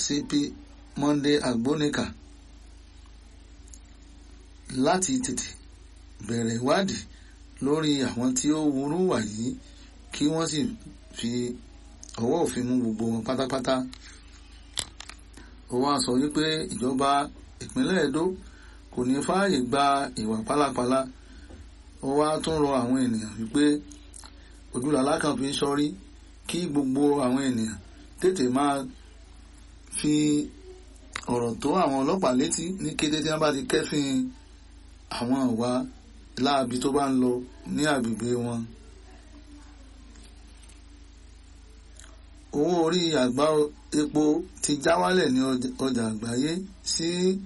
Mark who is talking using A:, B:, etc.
A: CP Monday Agbonika láti tètè bẹ̀rẹ̀ ìwádìí lórí àwọn tí ó wúrú wà yìí kí wọ́n sì fi ọwọ́ òfin mú gbogbo wọn pátápátá. Ó wá sọ wípé ìjọba ìpínlẹ̀ Edo kò ní fààyè gba ìwà pálapàla. Ó wá tún rọ àwọn ènìyàn wípé ojúlàlá kan fi ń sọrí kí gbogbo àwọn ènìyàn tètè máa fi ọ̀rọ̀ tó àwọn ọlọ́pàá létí ní kété tí wọ́n bá ti kẹ́fín àwọn ìwà láabi tó bá ń lọ ní agbègbè wọn. Owó orí àgbá epo ti já wálẹ̀ ní ọjà àgbáyé sí